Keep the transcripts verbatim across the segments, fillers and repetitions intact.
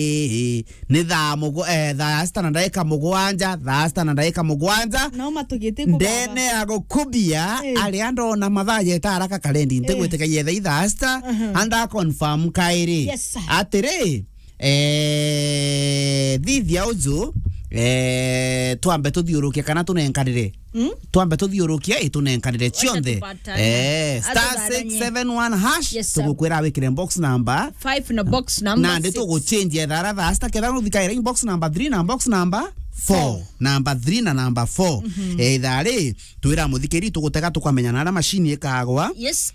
Ii, ni thaa mugu-, eh, thaa sita na ndaika mugwanja, thaa sita na ndaika mugwanja. No matugite ku baba. Ndene ya gukubia, eh, aria ndona mathaa jeta haraka karendi, eh, ntigwitikia yetha i thaa sita, aha, anda confirm kairi. Yes, sir. Atiri, eh, thithia uju, eh, twambe tuthiurukie kana tunenkanire. Mm? Twambe tuthiurukie, itunenkanire cionthe. Tupatane. Eh, star six seven one hash, yes, sir, tugukwira wikire box number five na box number nandi six. Tuguchange ethara thaa sita ketha nuthikaira box number three na box number four. Four. Number three na number four. Mhm. Eh, ithari, twira muthikiri tugutega tukamenya na aria machine ikagwa. Yes.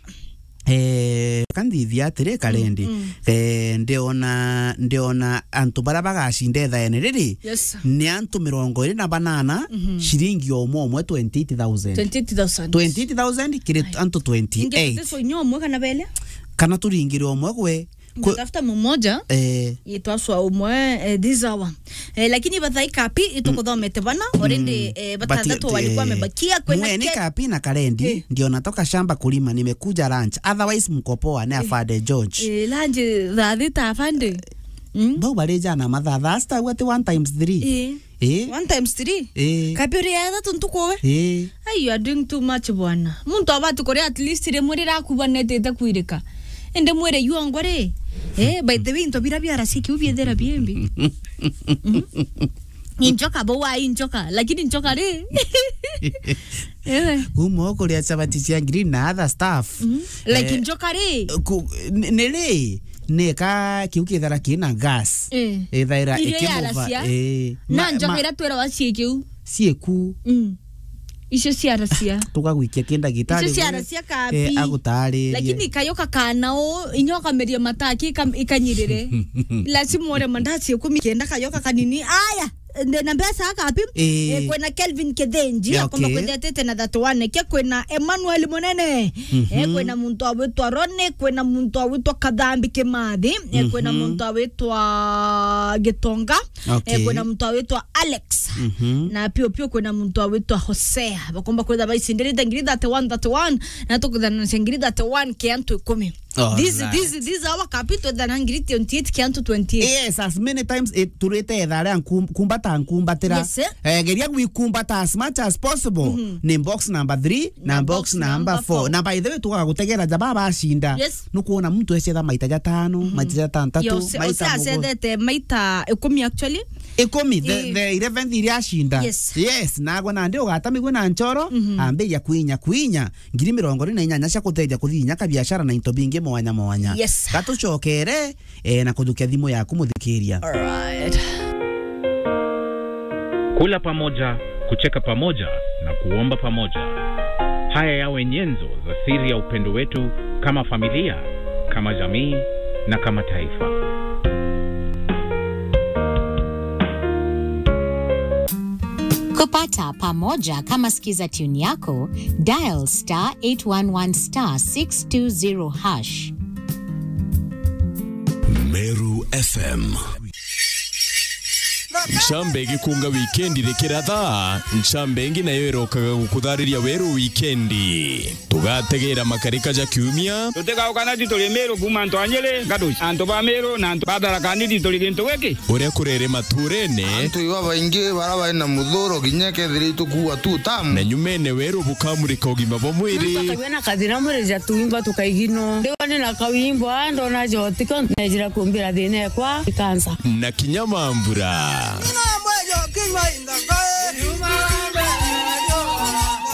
Eh, ka nthithia atiri, karendi. Mm, mm. Eh, ndiona, ndiona antu baria bagacinda ithaene riri, yes, sir, ni antu mirongo iri na banana, mhm, ciringi omwe omwe twenty eight thousand. Twenty eight thousand. Twenty eight thousand kiri antu twenty eight. Ingi tutiswa inya omwe kana bele? Kana turingire omwe gwe, kwe- Tafuta mumoja. Eh. Itwaswa umwe, eh, this hour. Eh, lakini bathai kapi itukuthomete bana, already, mm, eh, batandatu, but, walikuwa, eh, wamebakia, kwena mweni ke- kapi na karendi, eh, ndiona toka shamba kulima, nimekuja lunch. Otherwise, mko poa, ni, eh, afande George. Eh, lunch thaa thita afande. Mm. Bau bari jana mathaa, that's the, what, one times three. Eh. Eh? One times three? Eh. Kapi uri ya ithatu ntuku we? Eh. Hey, you are doing too much, bwana. Muntu abati kuria at least rimwe riria akubanetete kwirika. Indi mwire yuongwa ri? Eh, by the way, into bira biaracia kiu biethira biembi. Mm. Injoka bo wa injoka, lakini njoka ri? Ewe. Kuma ukuria chapati cia green na other stuff. Mm. Like, eh, njoka ri? Ku-, ni, ni ri? Neka kiu kithara kina gas. Eh. Ithaira irio ikimuva, yaracia. Eh. Na ma-, njoka ma-, ira twirawa cie kiu. Cieku. Mm. Icio ciaracia. Tugagwikia ki ndagitari. Icio ciaracia kabi. Eh, agutaririe. Lakini kayoka kana u, inya ukameria mataki ika-, ikanyirire. Lazima ure mandazi ikumi kenda kayoka kanini. Aya, ndina mbeca kabi. Eh. Eh, kwina Kelvin Kithenji, yeah, akomba, okay, kwithia atete na thirty-one. Ke kwina Emmanuel Munene. Mhm. Eh, kwina muntu awitwa Roni, kwina muntu awitwa Kathambi Kimathi, eh, kwina, mhm, muntu awitwa Gitonga. Okay. Eh, kwina muntu awitwa Alex. Mhm. Na pio pio kwina muntu awitwa Hosea. Bakomba kwitha baicindirite ngiri thirty-one, thirty-one, na tukwithananisha ngiri thirty-one ke antu ikumi. All right. This, this, this hour kapi twithana ngiri twenty-eight ke antu twenty-eight. Yes, as many times, eh, turite etha aria nkum-, kumbata nkumbatira. Yes, eh. Eh, geria gwikumbata as much as possible. Mhm. Ni box number three na box number four. Na by the way, tugagutegera jaba bacinda. Yes. Nukwona muntu ecetha maita jatano, mhm, maita jatantatu, yose, maita ose mugu-, acethete maita ikumi actually. Ikumi, the, eh, the eleventh iria acinda. Yes. Yes, nagwe nandi ugatamigwe na nchoro, mhm, ambiria kwinya, kwinya. Ngiri mirongo iri na inyanya cia kuteja kuthithia kabiashara na into bingi mwanya mwanya. Yes. Gatucokere, eh, na kujukia thimu yaku muthikiria. All right. Kula pamoja, kucheka pamoja na kuomba pamoja. Haya yawe nyenzo za siri ya upendo wetu kama familia, kama jamii na kama taifa. Kupata pamoja kama sikiza tune yako, dial star eight one one star six two zero hash. Meru F M. Ncambe igikunga wikendi rikiratha, ncambe ingi nayo irokaga gukuthariria weru wikendi. Tugategera makarika ja kiumia. Tutigauka na tituri Meru kuuma antu a Nyeri, Gaduci, antu ba Meru na antu ba Tharaka Nithi turi gintu giki. Uria kurere maturene. Antu iba baingi bara bari na muthuro kinya kethira itukuua tu tamu. Na nyumene weru bukamurika ugima bwa mwiri. Muntu akagua na kathina mwiri ja tuimba tukaigino. Ndiwa ni na kawimbo, a, ndona jotiko, nejira kumbira thina ekwa, ikansa. Na kinya mambura.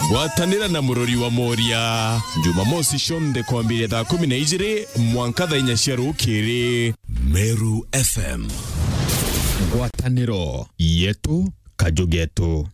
Gwatanira na murori wa Moria, Jumamosi cionthe kwambiria thaa kumi na ijiri mwanka thaa inya cia rukiri. Meru F M. Ngwataniro yetu, kaju getu.